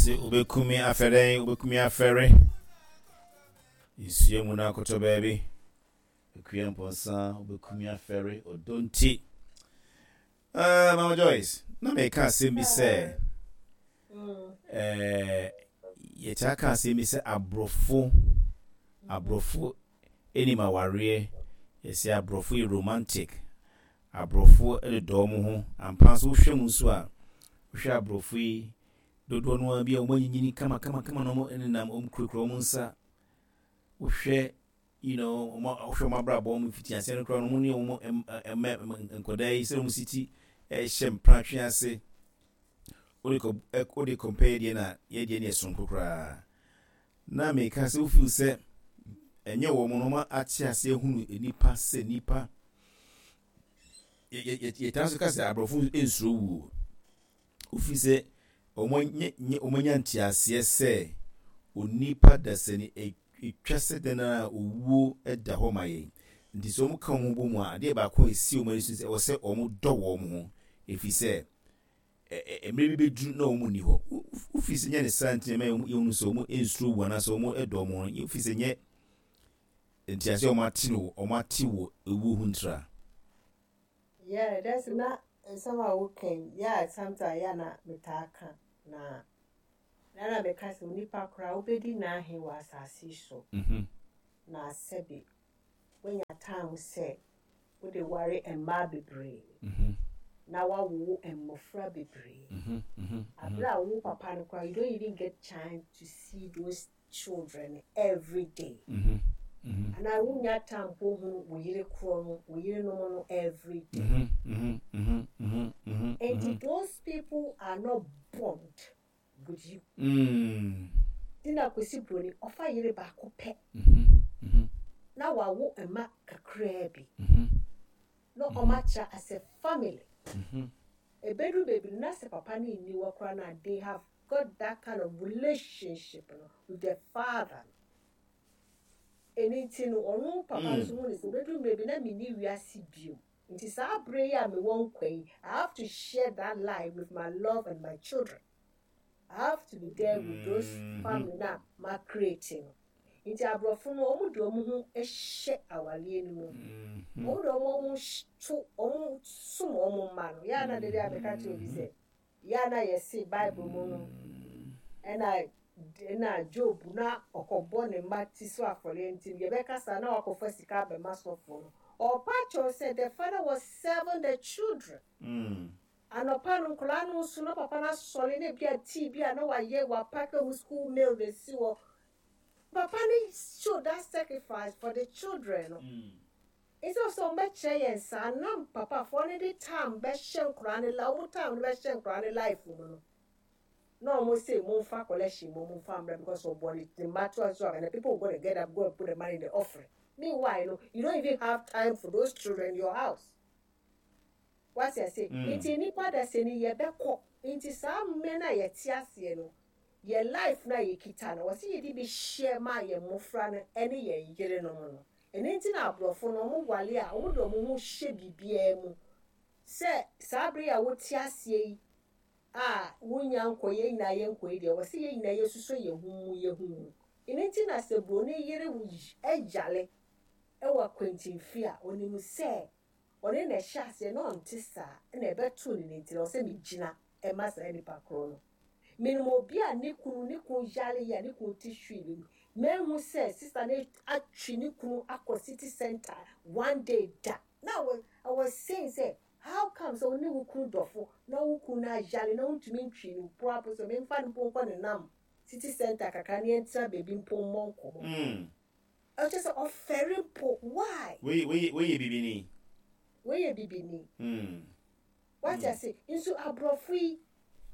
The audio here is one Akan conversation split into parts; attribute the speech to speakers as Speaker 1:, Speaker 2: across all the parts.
Speaker 1: Mese wobɛku me afɛ dɛn? Wobɛku me afɛre. Nsuo mu no akɔtɔ baabi. Akua Mpɔnsa, wobɛku me afɛre. Ɔdɔ nti. Uh, Mama Joyce, na meka asɛm bi sɛ, eh, yɛtaa ka asɛm bi sɛ aborɔfo, aborɔfo anim awareɛ, yɛsɛ aborɔfo yɛ romantic, aborɔfo dodɔ wɔn ho. Ampa nso wohwɛ mu nso a, wohwɛ aborɔfo yi, dodoɔ no ara bi a wɔn anyinyini kama kama kama na wɔn nenam wɔn kurakura wɔn nsa. Wohwɛ you know, wɔn wohwɛ wɔn abrabɔ wɔn mfitiaseɛ no koraa no wɔn ne wɔn mma nkwadaa yi sɛ wɔn si ti hyɛ mpratwe ase. Wode kɔ wode compare deɛ na yɛ deɛ ne yɛ soronko koraa. Na meka sɛ wofeel sɛ ɛnyɛ wɔn no wɔn ate ase ahunu nipa sɛ nipa. Yɛtaa nso ka sɛ aborɔfo nsuro wuo. Wofi sɛ wɔanya nteaseɛ sɛ onipa dasani ɛtwa sɛ dɛn ara a owuo da hɔ ma yɛn. Nti sɛ wɔka wɔn ho bɔ mu a, adeɛ baako a ɛsi wɔn ani so sɛ ɛwɔ sɛ wɔdɔ wɔn ho ɛfiri sɛ mmerɛ bi bɛduru na wɔn nni hɔ. Wofi sɛ nyɛ ne saa nti na ɛma yɛhunu sɛ wɔn nsuro wu anaasɛ wɔn dɔ wɔn ho. Wofi sɛ nyɛ nteaseɛ a wɔn ate no wɔn ate wɔ ewuo ho ntira.
Speaker 2: Yeah, that's na nsɛm a woka yi, yeah, sometimes yeah na metaa ka na na na meka sɛ onipa koraa wobɛdi n'ahe wɔ asase yi so na sɛbe woanya time sɛ wode ware mmaa bebree na woawowo mmɔfra bebree. Abere a wo papa no koraa you don't even get chance to see those children every day. Anaa wonya time mpo hu wo yere korɔ no, wo yerenom no every day. Enti those people are not bond with you. Nti na Kwesi Broni ɔfa yere baako pɛ na wawo mma kakraa bi na ɔmo atra as a family. Ebeduru baabi no na sɛ papa no nni hɔ koraa na they have got that kind of relationship no with the father no. Ɛno nti no ɔno papa no nso hu ne sɛ ebeduru mmerɛ bi na menni wiase bio. Nti saa bere yi a mewɔ nkwa yi, I have to share that life with my love and my children. I have to be there with those family na ma create no. Nti aborɔfo no wɔn de wɔn ho hyɛ awareɛ no mu. Wɔn de wɔn ho to wɔn som wɔn mma no. Yɛa na dede a meka kyerɛ obi sɛ yɛa na yɛse Bible mu no ɛna ɛna Job na ɔkɔbɔ ne mma ti so afɔreɛ nti no yɛbɛkasa na wakɔfa sika abɛma sɔfoɔ no. Ɔpa kyɛw sɛ the father was serving the children. Anɔpa no nkwadaa no nso na papa no asɔre na ebi a tea bi a na wayɛ wapack wɔn school meal na esi hɔ. Papa no show that sacrifice for the children no. Instead of sɛ wɔbɛkyerɛ yɛn saa na papafoɔ no de time bɛhyɛ nkwadaa no la wɔn time no bɛhyɛ nkwadaa no life mu no. Na wɔn say momfa collection mu momfa mmra because ɔbɔ ne ne mma to so and the people gonna get up go and put the money in the offering. Meanwhile no, you don't even have time for those children in your house. Wate ase? Nti nnipa dasani yɛbɛkɔ. Nti saa mmerɛ no a yɛte aseɛ no, yɛ life no a yɛkita no, wɔse yɛde bi hyɛ ma yɛn mmɔfra no ne yɛn yerenom no. Ɛno nti na aborɔfo no, wɔn wale a, wɔn de wɔn ho hyɛ biribiara mu. Sɛ saa bere a wote aseɛ yi a wonya nkɔ, yɛn nyinaa yɛnkɔ yi deɛ, wɔse yɛn nyinaa yɛsusɔ yɛn ho mu, yɛn ho mu. Ɛno nti na sɛ buroni yere yare wɔ akwankyinfie a, ɔnim sɛ ɔne na ɛhyɛ aseɛ na ɔnte saa na ɛbɛto ne ne nti na ɔsɛ megyina ɛma saa nipa korɔ no. Menim obi a ne kunu ne kunu yare yi a ne kunu te hwee mu. Mehu sɛ sister no atwe ne kunu akɔ city center one day da. Na I was saying sɛ how come sɛ wo ne wo kunu dɔfo na wo kunu no ayare na wontumi ntwe no mpo apo sɛ memfa no mpo nkɔ ne nam city center kakra ne yɛntena baabi mpo mmɔ nkɔmmɔ. Ɔkyerɛ sɛ ɔfɛre mpo. Why?
Speaker 1: Wei wei wei yɛ bibini.
Speaker 2: Wei yɛ bibini. Wate ase? Nso aborɔfo yi,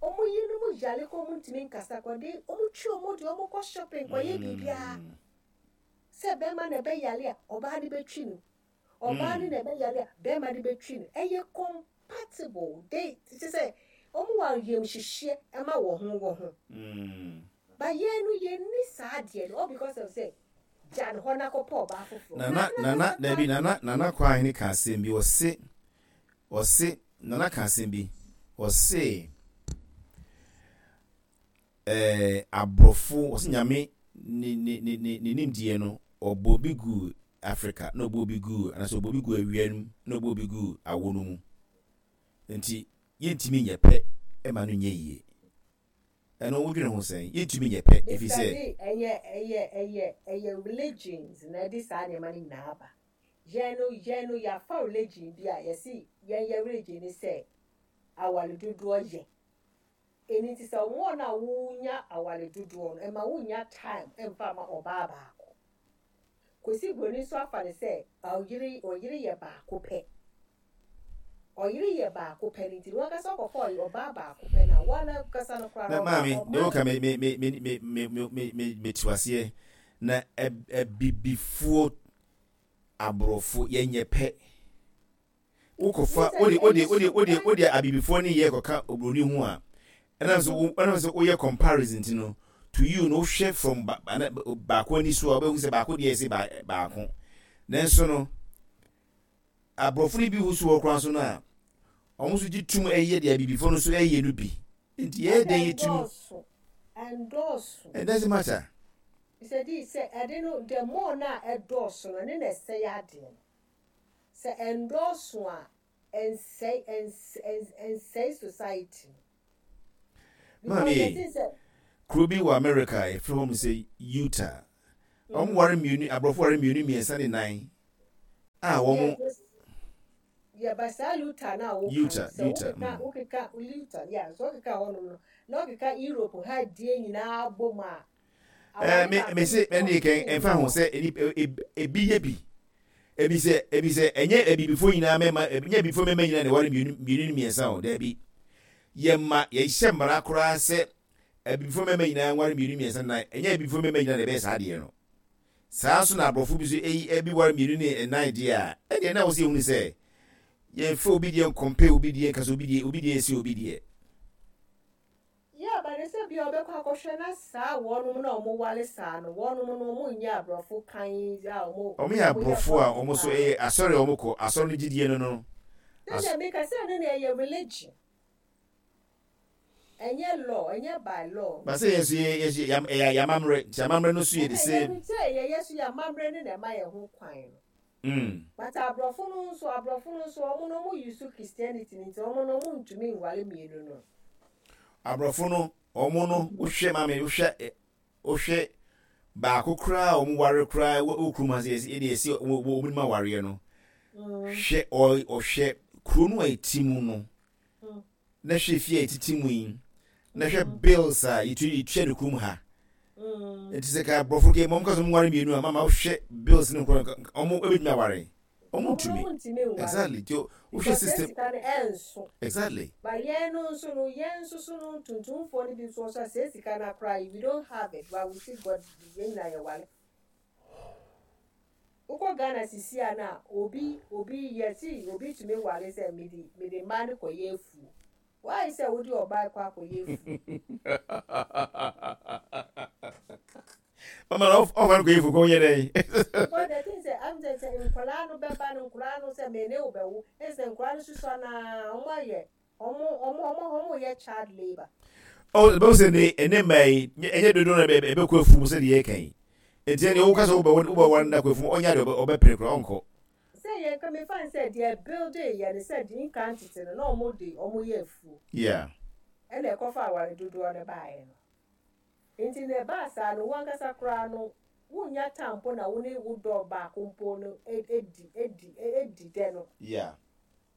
Speaker 2: wɔn yerenom yare kɔ wɔn ntumi nkasa kɔ de wɔn twi wɔn de wɔn kɔ shopping kɔyɛ biribiara. Sɛ bɛrima na ɛbɛyare a, ɔbaa no bɛtwi no. Ɔbaa no na ɛbɛyare a, bɛrima no bɛtwi no. Ɛyɛ compatible. They kyerɛ sɛ wɔn wɔ ayamhyehyeɛ ma wɔn ho wɔn ho. But yɛn no yɛnni saa adeɛ no all because of sɛ gya no hɔ na kɔpɛ ɔbaa foforɔ.
Speaker 1: Nana nana dabi nana nana Kwahene ka asɛm bi ɔse ɔse nana ka asɛm bi ɔse. Ɛɛ aborɔfo, wɔse Nyame ne ne ne ne ne nimdeɛ no, ɔbɔɔ bi guu Africa, na ɔbɔɔ bi guu, anaasɛ ɔbɔɔ bi guu awia no mu, na ɔbɔɔ bi guu awo no mu. Nti yɛntumi nyɛ pɛ ma no nyɛ yie. Ɛno wodwene ho sɛn? Yɛntumi nyɛ pɛ ɛfiri
Speaker 2: sɛ. Mister D, ɛyɛ ɛyɛ ɛyɛ ɛyɛ religions na ɛde saa nneɛma no nyinaa aba. Yɛn no yɛn no yɛafa religion bi a yɛse yɛn yɛ religion ne sɛ aware dodoɔ yɛ. Ɛno nti sɛ wɔn a wonya aware dodoɔ no ɛma wonnya time mfa mma ɔbaa baako. Kwesi Broni nso afa no sɛ ɔyere ɔyere yɛ baako pɛ. Ɔyere yɛ baako pɛ no nti no wankasa ɔkɔfa ɔbaa baako pɛ no a wo ankasa no koraa
Speaker 1: no ɔma maame, deɛ woka me me me me me me me me me mete aseɛ na abibifoɔ aborɔfo yɛnyɛ pɛ. Wokɔfa wode wode wode wode wode abibifoɔ ne yɛ kɔka oburoni ho a ɛnam sɛ wo ɛnam sɛ woyɛ comparison ti no to you no wohwɛ from ba ana baako ani so a wobɛhu sɛ baako deɛ ɛsɛ ba baako nanso no aborɔfo no bi ho so wɔ koraa so no a wɔn nso gye tum ɛyɛ deɛ abibifoɔ no nso ɛyɛ no bi nti yɛyɛ dɛn yɛ tum
Speaker 2: ɛndɔɔso
Speaker 1: it doesn't matter.
Speaker 2: Sɛ di sɛ ɛde no the more na ɛdɔɔso no ɛne na ɛsɛe adeɛ no. Sɛ ɛndɔɔso a, ɛnsɛe ɛnsɛe society
Speaker 1: no. Maame ei, kuro bi wɔ America a yɛfrɛ hɔ sɛ Utah. Wɔn ware mmienu, aborɔfo ware mmienu, mmiɛnsa ne nan a wɔn.
Speaker 2: Yeah, but saa Utah na woka no, sɛ wokeka wokeka Utah, yeah, sɛ wokeka hɔnom no, na wokeka Europe ha die nyinaa bom a,
Speaker 1: Ɛɛ me me se ɛne kɛn ɛnfa ho sɛ ebi yɛ bi ebi sɛ ebi sɛ ɛnyɛ abibifoɔ nyinaa mɛma ɛnyɛ abibifoɔ mɛma nyinaa na ɛware mmienu mmienu ne mmiɛnsa o daabi yɛma yɛhyɛ mmara koraa sɛ abibifoɔ mɛma nyinaa nware mmienu mmiɛnsa nan ɛnyɛ abibifoɔ mɛma nyinaa na ɛbɛyɛ saa adeɛ no saa nso na aborɔfo bi so eyi ebi ware mmienu ne nnan deɛ a ɛdeɛ na wɔsɛ ehunu sɛ yɛmfa obi deɛ nkɔmpɛ obi deɛ nkasa obi deɛ obi deɛ ɛsi obi deɛ.
Speaker 2: Yeah but ɛsɛ bia ɔbɛkɔ akɔhwɛ na saa wɔnom na ɔmo ware saa no wɔnom no ɔmo nyɛ abrɔfo kan yi a ɔmo
Speaker 1: Ɔmo yɛ
Speaker 2: ɔmo yɛ
Speaker 1: abrɔfo a ɔmo so
Speaker 2: paa.
Speaker 1: ɛyɛ asɔre a ɔmo kɔ asɔre no gyidie no no
Speaker 2: Sɛ
Speaker 1: as.
Speaker 2: deɛ meka sɛ ɛno na ɛyɛ religion ɛnyɛ law ɛnyɛ by law.
Speaker 1: But sɛ yɛn nso yɛ yɛ yɛ ɛyɛ yamammerɛ nti amammerɛ no so yɛ the
Speaker 2: Ɛhɛn
Speaker 1: same.
Speaker 2: yɛnim sɛ yɛyɛ so yɛ amammerɛ no na ɛma yɛn ho kwan no. But abrɔfo no nso abrɔfo no nso ɔmo no ɔmo use Christianity no nti ɔmo no ɔmo ntumi nware mmienu no.
Speaker 1: Abrɔfo no ɔmo no wohwɛ maame wohwɛ wohwɛ baako koraa a ɔmo ware koraa wɔ kurom ha sɛ yɛsi ɛde yɛsi ɔmo ɔmo nim awareɛ no hwɛ ɔhwɛ kuro no a ɛti mu no na hwɛ fie a yɛtete mu yi na hwɛ bills a yɛtu yɛtua no kurom ha nti sɛ ka aborɔfo ke mɔm ka sɛ ɔmo nware mmienu a mama wohwɛ bills no nkɔ ɔmo ɛbɛtumi aware ɔmo ntumi exactly nti wohwɛ system exactly.
Speaker 2: But yɛn no nso no yɛn nso so no tuntumfoɔ no bi nso nso a sɛ sika no akora we don't have it but we still got yɛn nyinaa yɛware. Wokɔ Ghana sisi a na obi obi yɛse obi tumi ware sɛ mede mede mmaa no kɔyɛ afuo. Why sɛ wode ɔbaa kɔ akɔyɛ afuo?
Speaker 1: Mama na ɔfa no kɔyɛ afuo kɔ yɛ dɛn?
Speaker 2: Because the thing sɛ am sɛ sɛ nkwadaa no bɛba no nkwadaa no sɛ me ne wo bɛwo ɛsɛ nkwadaa no susua naa wɔn ayɛ Ɔmo ɔmo ɔmo ɔmo yɛ child labour.
Speaker 1: Oh, ɛbɛhu sɛ ne ɛnɛ mmaa yi ɛnyɛ dodoɔ na ɛbɛkɔ afuom sɛdeɛ yɛka yi nti ɛneɛ woka sɛ wobɛware no akɔ afuom ɔnyɛ adeɛ ɔbɛpere koraa ɔnkɔ.
Speaker 2: Sɛ yɛn ka mefa no sɛ deɛ building yɛ no sɛ deɛ nkan tete no na ɔmo de ɔmo yɛ afuo.
Speaker 1: Yeah.
Speaker 2: Ɛna ɛkɔfa aware dodoɔ no baeɛ no. Nti na ɛbaa saa no wo ankasa koraa no wonnya time mpo na wo ne wo dɔ baako mpo no adi adi adi dɛ no.
Speaker 1: Yeah.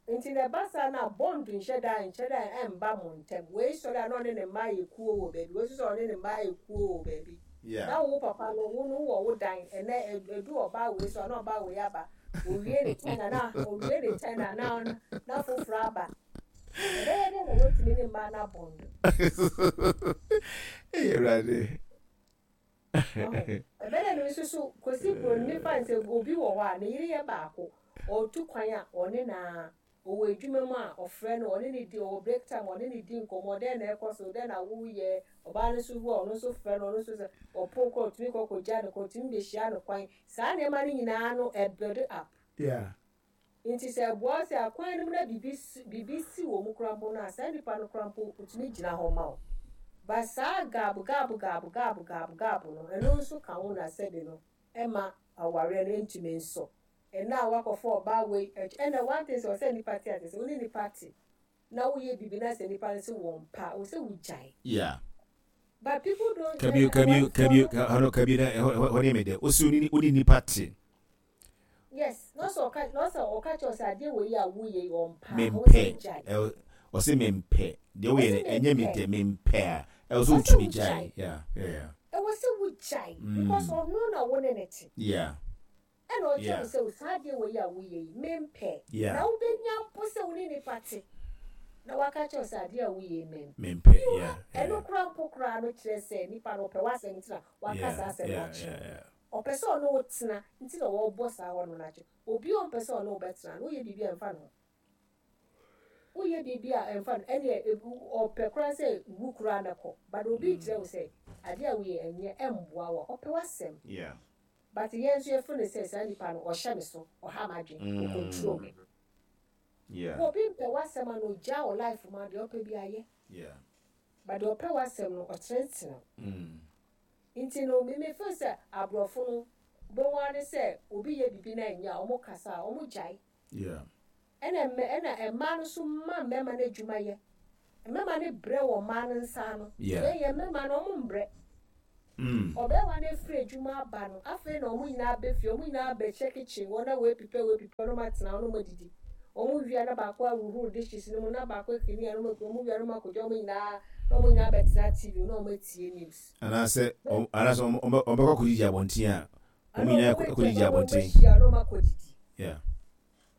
Speaker 2: Nti na ɛba saa no a bond nhyɛ da nhyɛ da mba mo ntɛm. Wei sɔre a na ɔne ne mma ayɛ kuo wɔ baabi, wei nso sɔre a ɔne ne mma ayɛ kuo wɔ baabi. Na wo papa no, wo no wowɔ wo dan, ɛnɛ ɛdu ɔbaa wei so a na ɔbaa wei aba, owie ne tɛn a na owie ne tɛn a na na foforɔ aba. Ɛbɛyɛ dɛn na woatumi ne mmaa no abɔndo?
Speaker 1: Ei Awurade.
Speaker 2: Ɛbɛyɛ dɛn na nso so Kwesi Broni mefa no sɛ obi wɔ hɔ a ne yere yɛ baako, ɔretu kwan a ɔne no ara, ɔwɔ adwuma mu a ɔfrɛ no, ɔne no di, ɔwɔ break time a ɔne no di nkɔmmɔ, dɛn na ɛrekɔ so, dɛn na woreyɛ, ɔbaa no nso wu a ɔno nso frɛ no, ɔno nso sɛ ɔpon koraa ɔtumi kɔ kɔgya no kwan, ɔtumi bɛhyia no kwan, saa nneɛma no nyinaa no ɛbuild up.
Speaker 1: Yeah.
Speaker 2: Nti sɛ ɛboa wo sɛ akwan no mu na biribi si biribi si wɔ mu koraa mpo no a, saa nipa no koraa mpo otumi gyina hɔ ma wo. But saa gaabo gaabo gaabo gaabo gaabo gaabo no, ɛno nso ka ho na sɛbi no ɛma awareɛ no ntumi nsɔ. Ɛnnɛ a woakɔfa ɔbaa wei akyi, ɛnna one thing sɛ ɛwɔ sɛ nnipa te aseɛ sɛ wo ne nnipa te na woyɛ biribi na sɛ nnipa no se wɔmpɛ a, ɛwɔ sɛ wogyae.
Speaker 1: Yeah.
Speaker 2: But people don't.
Speaker 1: Kabio kabio kabio hɔ kabio na ɛhɔ hɔ ne me dɛ. Osi wo ne nnipa te.
Speaker 2: Yes, na ɔsɛ ɔka na ɔsɛ ɔka kyerɛ sɛ adeɛ wei a woyɛ yi ɔmpɛ a, ɛwɔ
Speaker 1: sɛ wogyae. Ɔse mempɛ deɛ woyɛ no ɛnyɛ me dɛ mempɛ a ɛwɔ sɛ wotumi gyae. Yeah, yeah.
Speaker 2: Ɛwɔ sɛ wogyae because ɔno na wo ne no te.
Speaker 1: Yeah.
Speaker 2: Ɛna ɔkyerɛ wo sɛ saa adeɛ wei a woyɛ yi mempɛ. Na wobɛnya mpo sɛ wo ne nipa te na waka kyerɛ wo sɛ adeɛ a woyɛ yi mempɛ.
Speaker 1: Mempɛ, yeah.
Speaker 2: Ɛno koraa mpo koraa no kyerɛ sɛ nipa no ɔpɛ w'asɛm nti na waka saa asɛm no akyerɛ wo. Ɔpɛ sɛ ɔne wo tena nti na ɔrebɔ saa hɔ no no akyerɛ. Obi a ɔmpɛ sɛ ɔne wo bɛtena no, woyɛ biribi a ɛmfa ne ho. Woyɛ biribi a ɛmfa no, ɛneɛ ɔpɛ koraa sɛ wu koraa na kɔ. But obi rekyerɛ wo sɛ adeɛ a woyɛ ɛnyɛ, ɛmboa wo a, ɔpɛ w'asɛm. But yɛn nso yɛfeel no sɛ saa nipa no ɔhyɛ me so, ɔha m'adwene, ɔ control me. Obi mpɛ w'asɛm a na ogyaa wo life mu a, deɛ ɔpɛ biara yɛ. But deɛ ɔpɛ w'asɛm no, ɔtenetene wo. Nti no me me feel sɛ aborɔfo no, wobɛhu ara ne sɛ obi yɛ biribi na ɛnyɛ a, wɔn kasa a, wɔn gyae. Ɛna mmɛ ɛna mmaa no nso ma mmarima no adwuma yɛ. Mmarima no brɛ wɔ mmaa no nsa ano. Yɛn yɛn mmarima no wɔn mbrɛ. Ɔbarima no afiri adwuma aba no, afei na wɔn nyinaa aba fie, wɔn nyinaa abɛhyɛ kitchen hɔ na wɔapipɛ wɔapipɛ na wɔatena hɔ na wɔadidi. Wɔn wie a na baako ahuhuru dishes no mu na baako akini a na wɔn wɔn wie a na wɔn akɔgya wɔn nyinaa na wɔn nyinaa abɛtena TV na wɔn atie news.
Speaker 1: Anaasɛ anaasɛ wɔn wɔbɛkɔ akɔdidi abɔnten a Wɔn nyinaa kɔ didi abɔnten.
Speaker 2: Wɔn ahyia na wɔn akɔ didi. Yeah.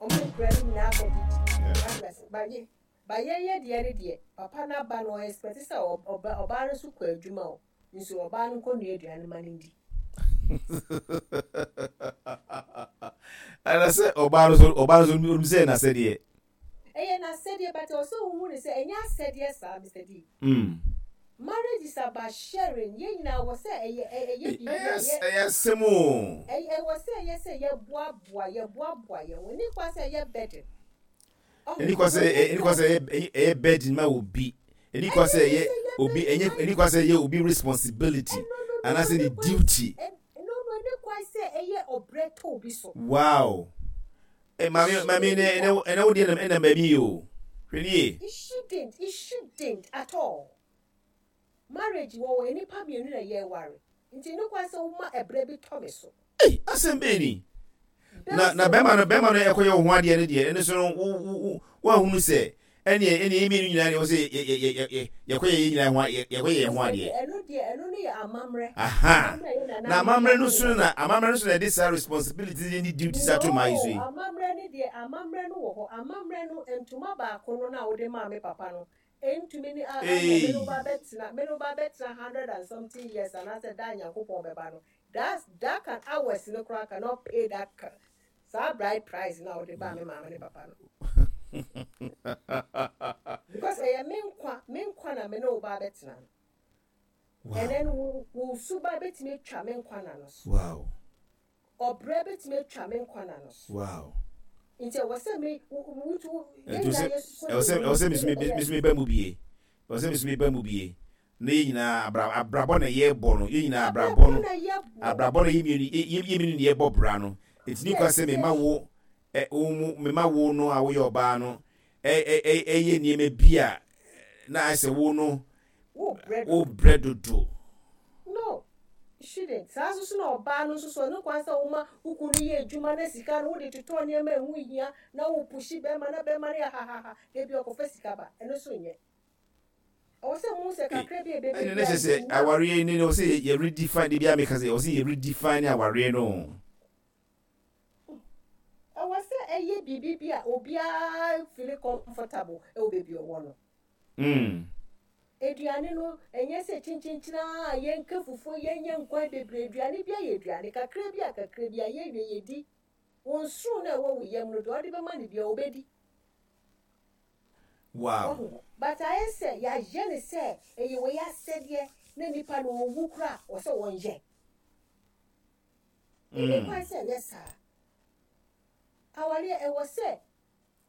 Speaker 2: Wɔn nkura no nyinaa akɔ didi. Yeah. Ba yɛ ba yɛn yɛ deɛ ne deɛ papa n'aba no ɔexpect sɛ ɔba ɔbaa no nso kɔ adwuma o nso ɔbaa no nkɔ nua aduane ma no ndi.
Speaker 1: Ɛna sɛ ɔbaa no so ɔbaa no so onim sɛ n'asɛdeɛ.
Speaker 2: Ɛyɛ n'asɛdeɛ but ɛwɔ sɛ wohu no sɛ ɛnyɛ asɛdeɛ saa Mister D. Marriage is about sharing yɛn nyinaa ɛwɔ sɛ ɛyɛ ɛyɛ biribi a yɛ.
Speaker 1: Ɛyɛ asɛm o.
Speaker 2: Ɛwɔ sɛ ɛyɛ sɛ yɛboaboa yɛboaboa yɛn ho ɛni kwan sɛ ɛyɛ burden.
Speaker 1: Ɛni kwan sɛ ɛni kwan sɛ ɛyɛ ɛyɛ burden ma obi ɛni kwan sɛ ɛyɛ obi ɛnyɛ ɛni kwan sɛ ɛyɛ obi responsibility anaasɛ ne duty.
Speaker 2: No no ɛni kwan sɛ ɛyɛ ɔbrɛ tɔ obi so.
Speaker 1: Wow. Eh, maame, maame, ɛnɛ, ɛnɛ, ɛnɛ wo deɛ nam ɛnam baabi yie o. Hwɛ nie.
Speaker 2: It shouldn't, it shouldn't at all. Marriage wɔ hɔ, nnipa mmienu na yɛreware. Nti ɛnni kwan sɛ woma ɛbrɛ bi tɔ me so.
Speaker 1: Ei, asɛm bɛn ni? Na, na bɛrima no, bɛrima no ɛkɔyɛ wo ho adeɛ no deɛ, ɛno so no, wo, wo, wo, woahunu sɛ, ɛneɛ, ɛneɛ yɛn mmienu nyinaa deɛ, wɔ sɛ yɛ, yɛ, yɛ, yɛ, yɛkɔyɛ yɛn nyinaa ho, yɛ, yɛkɔyɛ yɛn ho adeɛ.
Speaker 2: Ɛno deɛ, ɛno no yɛ amammerɛ.
Speaker 1: Aha. Na amammerɛ no so na, amammerɛ no so na ɛde saa responsibility ne duties ato mmaa yi so yi.
Speaker 2: No, amammerɛ no deɛ, amammerɛ no wɔ hɔ. Amammerɛ no, ntoma baako no na wode maa me papa no, ɛntumi ne, a, a, me ne wo ba bɛtena, me ne wo ba bɛtena 100 and something years anaasɛ da a Nyankopɔn bɛba no, that, that can hours no koraa cannot pay that saa bride price na wode baa me maame ne papa no. Because ɛyɛ me nkwa, me nkwa na me ne wo ba bɛtena no. And then wo wo suba bɛtumi atwa me nkwa na no so. Ɔbrɛ bɛtumi atwa me nkwa na no so. Nti ɛwɔ sɛ me wotu
Speaker 1: yɛn nyinaa yɛ soso. Ɛwɔ sɛ ɛwɔ sɛ me so me ba mu bie. Ɛwɔ sɛ me so me ba mu bie. Na yɛn nyinaa abra abrabɔ na yɛbɔ no. Yɛn nyinaa abrabɔ no. Abrabɔ na yɛn mmienu yɛn mmienu na yɛbɔ bra no. Eti ni kwa sɛ me ma wo ɛ wo mu me ma wo no a woyɛ ɔbaa no ɛ ɛ ɛyɛ nneɛma bi a na ayɛ sɛ wo no wo brɛ dodo.
Speaker 2: No, you shouldn't. Saa nso so na ɔbaa no nso so ɛno kwan sɛ woma wo kunu no yɛ adwuma na sika no wode totɔ nneɛma a ɛho hia na wo pushi bɛrima na bɛrima no yɛ hahaha da bi ɔkɔfa sika ba ɛno nso nyɛ. Ɛwɔ sɛ muhu sɛ kakra bi a ɛbɛba
Speaker 1: Ɛne ne kyɛ sɛ awareɛ ne ɛwɔ sɛ yɛ redefine de bi a meka sɛ ɛwɔ sɛ yɛ redefine awareɛ no.
Speaker 2: Ɛwɔ sɛ ɛyɛ biribi bi a obiara feel comfortable ɛwɔ baabi ɔwɔ no. Aduane no, ɛnyɛ sɛ kyenkyenkyen ara a yɛnka fufuo, yɛnyɛ nkwan bebree. Aduane biara yɛ aduane. Kakra bi a kakra bi a yɛwie yɛdi. Wo nsono no a ɛwɔ wo yam no, deɛ ɔde bɛma no biara ɔbɛdi. Wahu? But ayɛ sɛ yɛayɛ no sɛ ɛyɛ wei asɛdeɛ na nipa no ɔwu koraa a, wɔ sɛ wɔnyɛ. Ɛnni kwan sɛ ɛyɛ saa. Awareɛ, ɛwɔ sɛ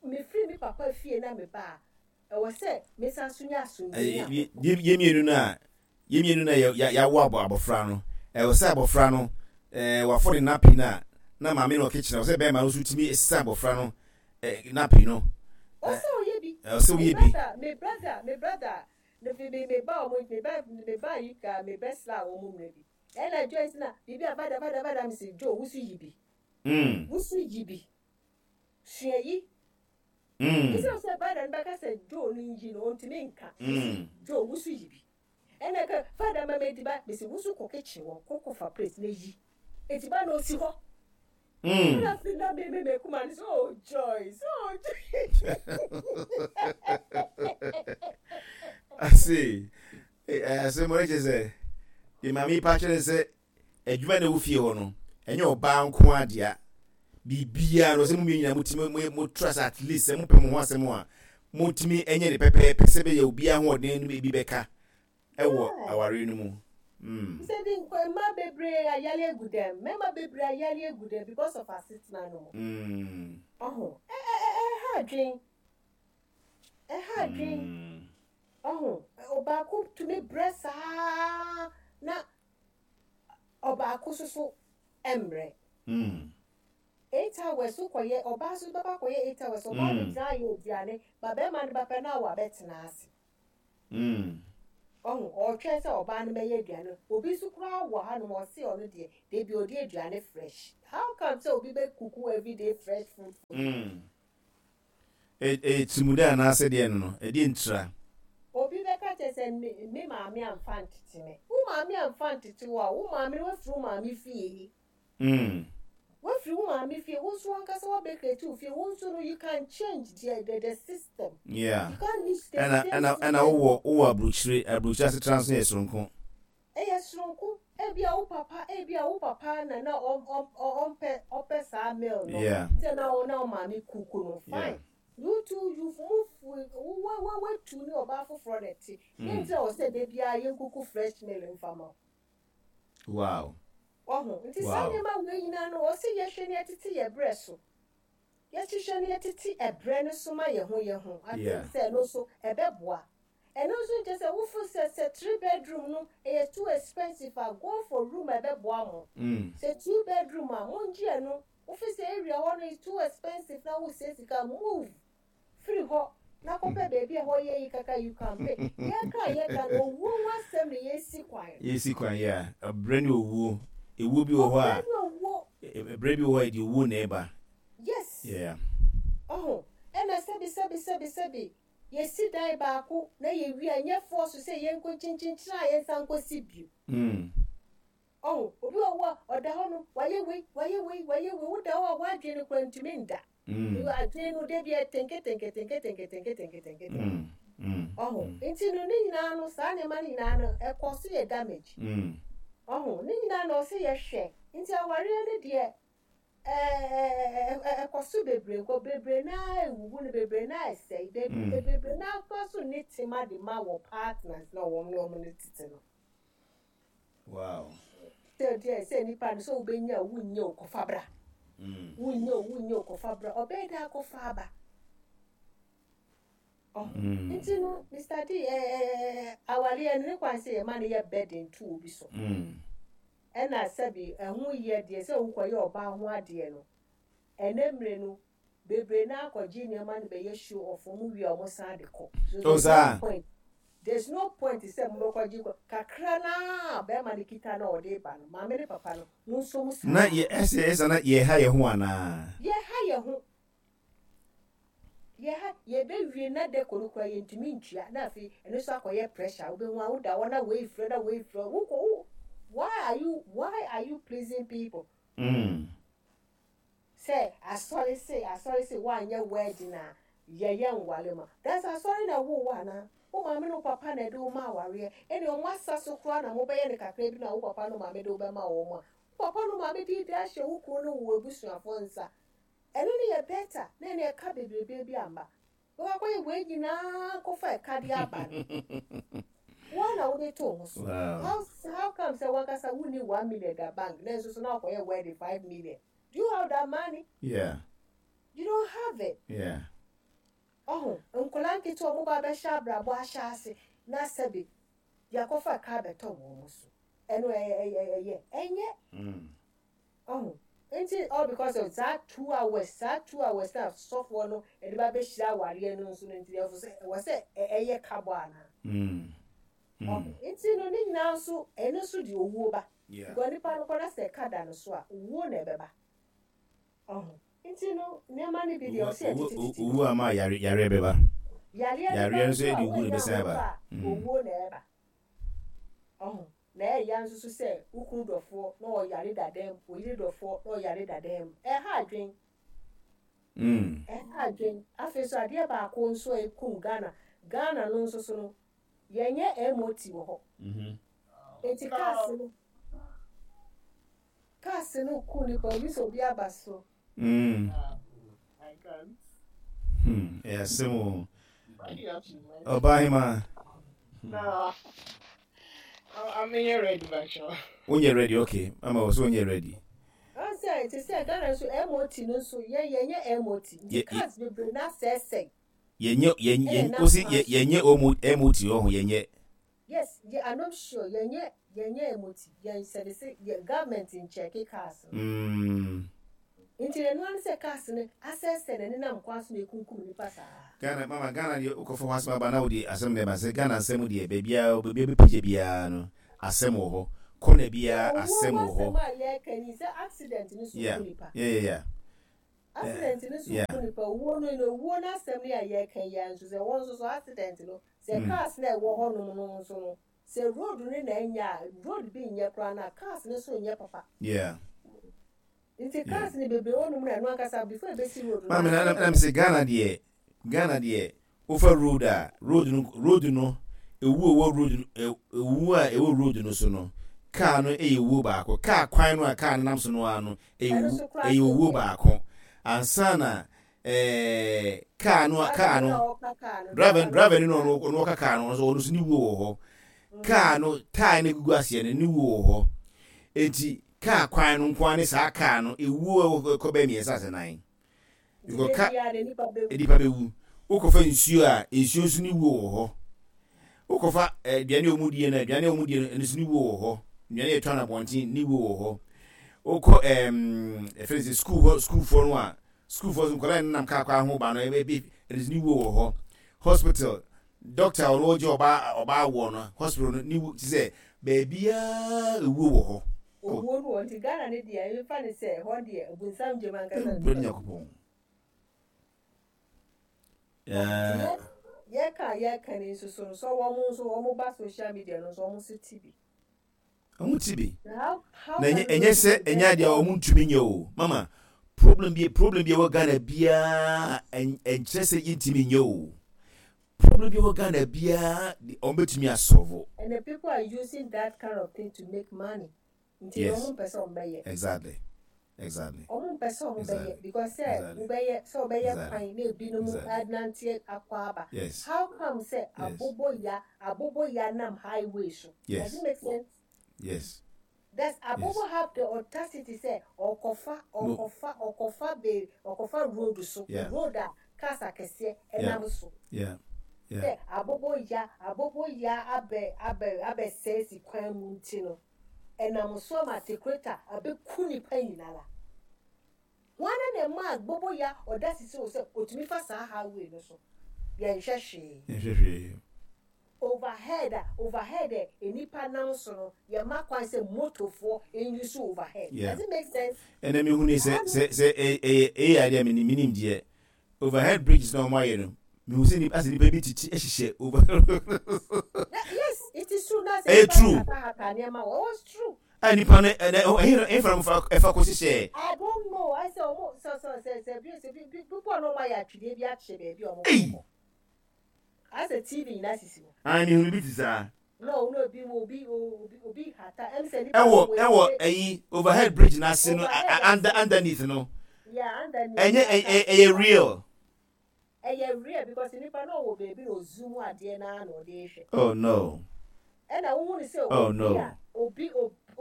Speaker 2: mefiri me papa fie na meba a, ɛwɔ sɛ mesan so nya asomdwoeɛ ne ahotɔ.
Speaker 1: Yɛn mmienu no a, Yɛn mmienu na yɛawo abɔfra no. Ɛwɔ sɛ abɔfra no, wafɔ ne nappy no a, na maame no wɔ kitchen. Ɛwɔ sɛ bɛrima no nso tumi sesa abɔfra no nappy no.
Speaker 2: Ɔsɛ ɔyɛ bi.
Speaker 1: Ɛwɔ sɛ woyɛ bi.
Speaker 2: Me brother, me brother, me me me ba ɔmo, me ba me ba yi ka me bɛ sra wɔn mmerɛ bi. Ɛna Joyce na biribi a bada bada bada me se Joe wusu yi bi. Wusu yi bi. Sua yi. Esiane sɛ Bada no bɛka sɛ Joe no nyi no, ɔntumi nka. Mese, Joe, wo so yi bi. Ɛna ɛka, Fada ma me adiba. Mese, wo so kɔ kitchen hɔ, kɔ kɔfa plate na yi. Adiba no ɔsi hɔ. Ɛna afei na me me me kuma no sɛ, oh Joyce, oh Joyce.
Speaker 1: I see. Asɛm no kyerɛ sɛ, deɛ maame yi pa kyerɛ sɛ Adwuma na ɛwɔ fie hɔ no, ɛnyɛ ɔbaa nko ara dea. Biribiara no, sɛ mo mmienu nyinaa motumi mo tra sɛ at least sɛ mopɛ mo ho asɛm a, motumi nyɛ ne pɛpɛɛpɛ sɛ bɛyɛ obiara ahoɔden no bi bɛka ɛwɔ awareɛ no mu.
Speaker 2: Sɛ bi nkɔ mmaa bebree ayare agu dɛm, mmarima bebree ayare agu dɛm because of asetena no mu. Ɔho, ɛha adwen, ɛha adwen. Ɔho, ɔbaako tumi brɛ saa na ɔbaako nso so mmerɛ. 8 hours wokɔyɛ, ɔbaa nso bɛba akɔyɛ 8 hours, ɔbaa bɛgyina ayɛ aduane ba, bɛrima no ba pɛ na wabɛtena ase. Ɔho ɔretwɛn sɛ ɔbaa no bɛyɛ aduane. Obi nso koraa wɔ hanom, ɔse ɔno deɛ debi ɔdi aduane fresh. How come sɛ obi bɛ cook everyday fresh food for you?
Speaker 1: Ɛyɛ tirimude anaasɛ deɛ no, ɛdeɛ ntira?
Speaker 2: Obi bɛka kyerɛ sɛ me maame amfa ntete me. Wo maame amfa ntete wo a, wo maame no, wafiri wo maame fie. Wafiri wo maame fie, wo nso wankasa wabɛ create wo fie, wo nso no you can change the system. You can't use the
Speaker 1: same
Speaker 2: system.
Speaker 1: Ɛna wowɔ aburokyire asetena nso yɛ soronko.
Speaker 2: Ɛyɛ soronko. Ebia wo papa, ebia wo papa na na ɔmpɛ, ɔpɛ saa meal no. Nti na wo na wo maame cook no. Fine. You two, you move, wo wo watu ne ɔbaa foforɔ na ɛte. Yɛn nti na wɔ sɛ da biara yɛn cook fresh meal mfa ma wo. Wahu? Nti saa nneɛma wei nyinaa no, ɔsɛ yɛhwɛ ne yɛtete yɛ brɛ so. Yɛhyehyɛ ne yɛtete ɛbrɛ no so ma yɛn ho yɛn ho. I think sɛ ɛno nso ɛbɛboa. Ɛno nso nkyɛ sɛ wofo sɛ three bedroom no ɛyɛ too expensive a, go for room a ɛbɛboa mo. Sɛ two bedroom a, mongye ɛno. Wofi sɛ area hɔ no is too expensive na wosɛ sika, move firi hɔ na kɔpɛ baabi a ɛhɔ yɛ yi kakra, you can pay. Yɛka a yɛka no, owuo ho asɛm na yɛsi kwan.
Speaker 1: Yɛsi kwan, yeah. Ɛbrɛ ne owuo. Ewuo bi wɔ hɔ a,
Speaker 2: Ɔbrɛ ne owuo.
Speaker 1: Ɛbrɛ bi wɔ hɔ a, ɛde owuo na ɛba.
Speaker 2: Yes. Ɔho, ɛna sɛbi sɛbi sɛbi sɛbi, yɛsi dan baako na yɛwie a, ɛnyɛ force sɛ yɛnkɔ kyinkyinkyin a yɛnsan nkɔsi bio. Ɔho, obi wɔ hɔ a, ɔda hɔ no, wayɛ wei, wayɛ wei, wayɛ wei, woda hɔ a, w'adwene no koraa ntumi nda. Adwene no, da bi ɛtenke tenke tenke tenke tenke tenke tenke tenke. Ɔho, nti no ne nyinaa no, saa nneɛma no nyinaa no, ɛkɔ so yɛ damage. Ɔho, ne nyinaa na ɔsɛ yɛhwɛ. Nti awareɛ no deɛ, ɛkɔ so bebree nkɔ bebree naa, ewuwu no bebree naa, ɛsɛe bebree naa kora so ne tema de ma wɔ partners na wɔn ne wɔn no tete no. Sɛ deɛ sɛ nipa no sɛ wobɛnya o, wonnya o, kɔfa bra. Wonnya o, wonnya o, kɔfa bra. Ɔbɛyɛ dɛ akɔfa aba. Nti no, Mr. D, awareɛ no ne kwan sɛ yɛma no yɛ burden to obi so. Ɛna sɛbi ɛho yɛ deɛ sɛ wokɔyɛ ɔbaa ho adeɛ no, ɛnɛ mmerɛ no, bebree naa kɔgye nneɛma no bɛyɛ show off, ɔmo wie a ɔmo san de kɔ. So there's no point. There's no point sɛ mobɛkɔgye kɔ kakra naa bɛrima no kita na ɔde ba no, maame ne papa no, mo nso mo saa.
Speaker 1: Na yɛ ɛsɛ ɛsɛ na yɛha yɛn ho anaa?
Speaker 2: Yɛha yɛn ho. Yɛha yɛbɛwie na dɛkɔ no koraa yɛntumi ntua, na afei ɛno nso akɔyɛ pressure. Wobɛhu a woda hɔ na wei frɛ na wei frɛ wokɔ wo, why are you pleasing people? Sɛ asɔre se, asɔre se woanyɛ wedding a yɛyɛ nwale ma that's asɔre na ɛwoo wo anaa? Wo maame ne wo papa na ɛde wo ma awareɛ, ɛne ɔmo asa so koraa na mobɛyɛ no kakra bi na wo papa ne wo maame de wo bɛma wɔn a, wo papa ne wo maame de de ahyɛ wo kunu ne wo abusuafoɔ nsa, ɛno no yɛ better na ɛne ɛka bebrebe bi amba. Bɛkɔ akɔyɛ wei nyinaa kɔfa ɛka de aba no, wɔn na wode to ho so. How come sɛ wankasa wonni 1 million da bank na nso so na wakɔyɛ wedding 5 million? Do you have that money? You don't have it. Ɔho, nkwadaa nketewa ɔmo ba bɛhyɛ abrabɔ ahyɛ ase na sɛbi. Yɛakɔfa ka abɛtɔ wɔn so. Ɛno ɛyɛ ɛyɛ ɛnyɛ. Ɔho nti all because of saa 2 hours, saa 2 hours na sɔfoɔ no ɛde ba bɛhyira awareɛ no nso no, nti ɛwɔ sɛ ɛwɔ sɛ ɛyɛ kabɔ anaa? Ɔho nti no ne nyinaa nso, ɛno nso de owuo ba. Because nipa no kɔ na sɛ ɛka da no so a, owuo na ɛbɛba. Ɔho nti no nneɛma no bi deɛ ɔsɛ yɛtete tete.
Speaker 1: Owuo ama yare yareɛ bɛba.
Speaker 2: Yareɛ no ba
Speaker 1: Yareɛ nso
Speaker 2: nso a
Speaker 1: de owuo na
Speaker 2: woanya
Speaker 1: ɛbɛsan
Speaker 2: ahotɔ
Speaker 1: aba.
Speaker 2: a, owuo na ɛba. Ɔho na ɛyɛ nso so sɛ wo kunu dɔfoɔ na ɔyare dadan mu, wo yere dɔfoɔ na ɔyare dadan mu, ɛha adwen. Ɛha adwen. Afei nso adeɛ baako nso a ɛkum Ghana no nso so no, yɛnyɛ MOT wɔ hɔ. Enti cars no ku nipa obi sɛ obi aba so.
Speaker 3: I can't.
Speaker 1: Ɛyɛ asɛm o. Ɔbaa
Speaker 3: No. I'm here ready, Bacho.
Speaker 1: Wonyɛ ready, okay. Ama wɔ so wonyɛ ready.
Speaker 2: Ɔn sɛ te sɛ Ghana nso MOT no nso yɛnyɛ MOT nti cars bebree na asɛesɛe.
Speaker 1: Yɛnyɛ
Speaker 2: Ɛna
Speaker 1: yɛn
Speaker 2: nam
Speaker 1: osi
Speaker 2: kwan
Speaker 1: yɛ
Speaker 2: so.
Speaker 1: yɛnyɛ MOT wɔ ho yɛnyɛ.
Speaker 2: Yes, yɛ I'm not sure yɛnyɛ MOT, yɛn service, yɛ government nkyɛke cars no. Nti ɛno ano sɛ cars no asɛesɛe na nenam kwan so na ekunkum nipa saa.
Speaker 1: Ghana mama, Ghana deɛ, wokɔfa hɔ asɛm aba na wode asɛm na ɛba sɛ Ghana nsɛm deɛ, baabiara bɛpagya biara no, asɛm wɔ hɔ. Kɔna biara
Speaker 2: Owuo
Speaker 1: asɛm
Speaker 2: ho
Speaker 1: wɔ hɔ.
Speaker 2: asɛm a yɛreka ni sɛ accident no so ku nipa. Accident no so ku nipa. Owuo no, owuo no asɛm no a yɛreka yi ara nso sɛ wɔn nso so accident no sɛ cars na ɛwɔ hɔnom no nso no, sɛ road no na ɛnyɛ a, road bi nyɛ koraa na cars no so nyɛ papa. Nti cars no bebree wɔ nom na ɛno ankasa before ebesi road no.
Speaker 1: Maame, na sɛ Ghana deɛ, wofa road a, road no ewu a ɛwɔ road no, ewu a ɛwɔ road no so no, car no yɛ owuo baako. Car kwan no a car no nam so no ara no ɛyɛ
Speaker 2: Ɛno
Speaker 1: owu
Speaker 2: so koraa
Speaker 1: ɛyɛ
Speaker 2: so
Speaker 1: owuo
Speaker 2: nyɛ.
Speaker 1: baako ansa na car no car
Speaker 2: driver no
Speaker 1: no
Speaker 2: a ɔka car no,
Speaker 1: driver
Speaker 2: driver no
Speaker 1: driver no
Speaker 2: ɔka
Speaker 1: no ɔno ɔka car no ɔno nso ne wuo wɔ hɔ. Car no tyre no egugu aseɛ no ne wuo wɔ hɔ. Eti car kwan no nko ara ne saa car no ewuo a ɛwɔ kɔ bɛyɛ mmiɛnsa ase nan.
Speaker 2: Nti
Speaker 1: Because
Speaker 2: de
Speaker 1: ka
Speaker 2: biara de nipa bɛwu.
Speaker 1: Nipa bɛwu. Wokɔfa nsuo a, nsuo nso ne wuo wɔ hɔ. Wokɔfa aduane a wɔn die no, aduane a wɔn die no, ɛno nso ne wuo wɔ hɔ. Nnuane a yɛtɔ no abɔnten ne wuo wɔ hɔ. Wokɔ ɛfɛ sɛ sukuu hɔ, sukuufoɔ no a, sukuufoɔ nso nkwadaa a nenam kaa kwan ho ba no, ɛbɛ bi, ɛno nso ne wuo wɔ hɔ. Hospital, doctor a ɔno ɔgye ɔbaa woɔ no, hospital no ne wu ti sɛ baabiara ewuo wɔ hɔ.
Speaker 2: Owuo no wɔ nti Ghana ne deɛ, yɛmfa ne sɛ ɛhɔ deɛ obunsam gyem ankasa.
Speaker 1: Ewura Nyankopɔn.
Speaker 2: Nti yɛka ni nso so no sɛ wɔn nso wɔn ba social media no nso, wɔn nso ti bi.
Speaker 1: Wɔn ti bi.
Speaker 2: How
Speaker 1: Na ɛnyɛ sɛ ɛnyɛ adeɛ a wɔn ntumi nyɛ o. Mama, problem bi a ɛwɔ Ghana biara, ɛnkyerɛ sɛ yɛntumi nyɛ o. Problem bi a ɛwɔ Ghana biara, wɔn bɛtumi asolve.
Speaker 2: And the people are using that kind of thing to make money. Nti wɔn mpɛ sɛ wɔn bɛyɛ. Wɔn mpɛ sɛ wɔn bɛyɛ because sɛ wobɛyɛ sɛ wɔbɛyɛ kwan na ebinom anante akɔ aba. How come sɛ aboboya nam highway so? Does it make sense?
Speaker 1: Yes.
Speaker 2: Does abobo have the audacity sɛ ɔkɔfa be ɔkɔfa road so, road a cars akɛseɛ ɛnam so? Sɛ aboboya abɛsɛe si kwan mu nti no, ɛnam so ama tekreta abɛku nipa nyinara. Wɔn na ɛma aboboya audacity sɛ otumi fa saa highway no so? Yɛnhwɛ hwee.
Speaker 1: Yɛnhwɛ hwee.
Speaker 2: Overhead a nipa nam so no, yɛma kwan sɛ motofoɔ nuse overhead. Does it make sense?
Speaker 1: Ɛnna mi hu ni sɛ ɛyɛ adeɛ a mi nim deɛ, overhead bridges na wɔn ayɛ no, mi hu sɛ nipa asɛ nipa bi titi ɛhyehyɛ over.
Speaker 2: Yes, it is true na sɛ
Speaker 1: Ɛyɛ
Speaker 2: nipa
Speaker 1: true.
Speaker 2: hatahata nneɛma wɔ, it was true.
Speaker 1: A nipa no ɛnɛ ɛhin ɛhin fa ɛfa kɔ hyehyɛ.
Speaker 2: I don't know. I sɛ ɔmo sɛ bi people a na ɔmo ayɛ atwedeɛ bi akyɛ baabi a ɔmo
Speaker 1: Ei!
Speaker 2: kɔ. Asɛ TV nyinaa sisi hɔ.
Speaker 1: Ah, mi hu bi ti saa.
Speaker 2: Na ɔno obi hata ɛm sɛ nipa
Speaker 1: Ɛwɔ
Speaker 2: no wɔ
Speaker 1: ɛwɔ
Speaker 2: ekyire.
Speaker 1: Ɛyi overhead bridge n'ase no
Speaker 2: Overhead ase.
Speaker 1: Underneath no.
Speaker 2: Yeah, underneath.
Speaker 1: Ɛnyɛ ɛyɛ real.
Speaker 2: Ɛyɛ real because nipa no ɔwɔ beebi na ozoom adeɛ naa na ɔde ehwɛ.
Speaker 1: Oh no.
Speaker 2: Ɛna wohu ne sɛ
Speaker 1: Oh
Speaker 2: obi
Speaker 1: no.
Speaker 2: a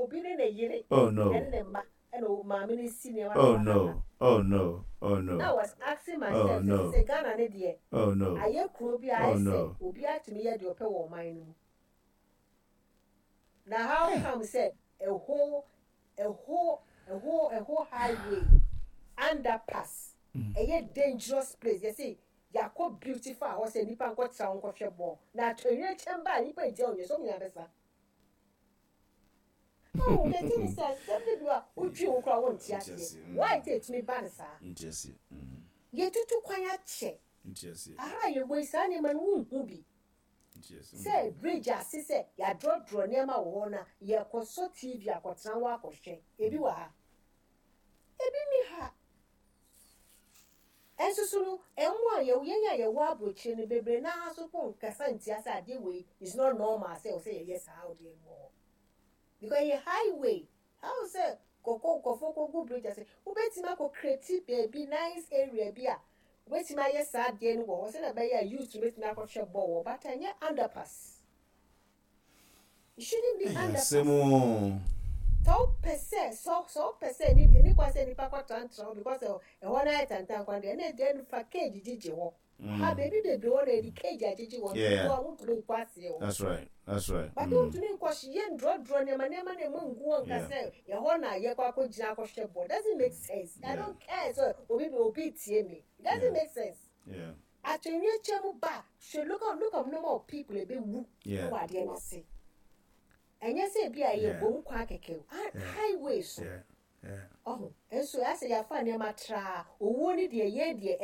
Speaker 2: obi ne ne yere
Speaker 1: Oh no.
Speaker 2: ɛne ne mma ɛna maame no si nneɛma na
Speaker 1: Oh
Speaker 2: wahata.
Speaker 1: no. Oh no. Oh
Speaker 2: Na
Speaker 1: no.
Speaker 2: I was asking
Speaker 1: Oh
Speaker 2: myself sɛ
Speaker 1: no.
Speaker 2: sɛ Ghana ne deɛ
Speaker 1: Oh no.
Speaker 2: ayɛ kuro bi a
Speaker 1: Oh
Speaker 2: ayɛ sɛ
Speaker 1: no.
Speaker 2: obi atumi yɛ deɛ ɔpɛ wɔ ɔman no mu. Na how come sɛ a whole highway underpass ɛyɛ dangerous place, yɛsɛ yɛakɔ beautify hɔ sɛ nipa nkɔtena hɔ nkɔhwɛ bɔɔl, na atɔnwere ba a nipa gyina hɔ nyɛ sɛ ɔmo nyinaa bɛsa? Oh, the thing is sɛ sɛm de bi a wotwi wo koraa, wonte aseɛ why nti etumi ba ne saa.
Speaker 1: Nti aseɛ.
Speaker 2: Yɛtutu kwan akyɛ.
Speaker 1: Nti aseɛ.
Speaker 2: Aha yɛwɔ yi, saa nneɛma no wonhu bi.
Speaker 1: Nti aseɛ.
Speaker 2: Sɛ bridge ase sɛ yɛadrɔdrɔ nneɛma wɔ hɔ na yɛkɔsɔ TV akɔtena hɔ akɔhwɛ, ebi wɔ ha, ebi ni ha. Ɛnso so no, ɛmo a yɛwɔ, yɛn a yɛwɔ aburokyire no bebree naa so po nkasa ntia sɛ adeɛ wei is not normal sɛ ɔsɛ yɛyɛ saa adeɛ no wɔ hɔ, because ɛyɛ highway. How sɛ kɔkɔ nkɔfo kɔgu bridge ase? Wobɛtumi akɔ create baabi, nice area bi a wobɛtumi ayɛ saa adeɛ no wɔ hɔ sɛdeɛ ɛbɛyɛ a youth bɛtumi akɔhwɛ bɔɔl wɔ, but ɛnyɛ underpass. It shouldn't be underpass.
Speaker 1: Asɛm o.
Speaker 2: Sɛ wopɛ sɛ wopɛ sɛ ni ni kwan sɛ nipa kɔ trantran hɔ because ɛhɔ no ayɛ tantan kwan deɛ, ɛna deɛ no fa cage gyegye hɔ ha, beebi bebree hɔ na yɛde cage agyegye hɔ nti a wontumi nkɔ aseɛ hɔ.
Speaker 1: That's right. That's right.
Speaker 2: But wontumi nkɔ yɛ ndrɔdrɔ nneɛma na emu ngu hɔ nka sɛ ɛhɔ na yɛkɔ akɔgyina akɔhwɛ bɔ. Doesn't make sense. I don't care sɛ obi tie me, it doesn't make sense. Atwɛnwie kyɛn mu ba, hwɛ, look at number of people ebewu wɔ adeɛ n'ase. Ɛnyɛ sɛ ebi a yɛ bom kwan kɛkɛ o, highway so. Ɔho nso asɛ yɛafa nneɛma traa owuo ne deɛ yɛn deɛ.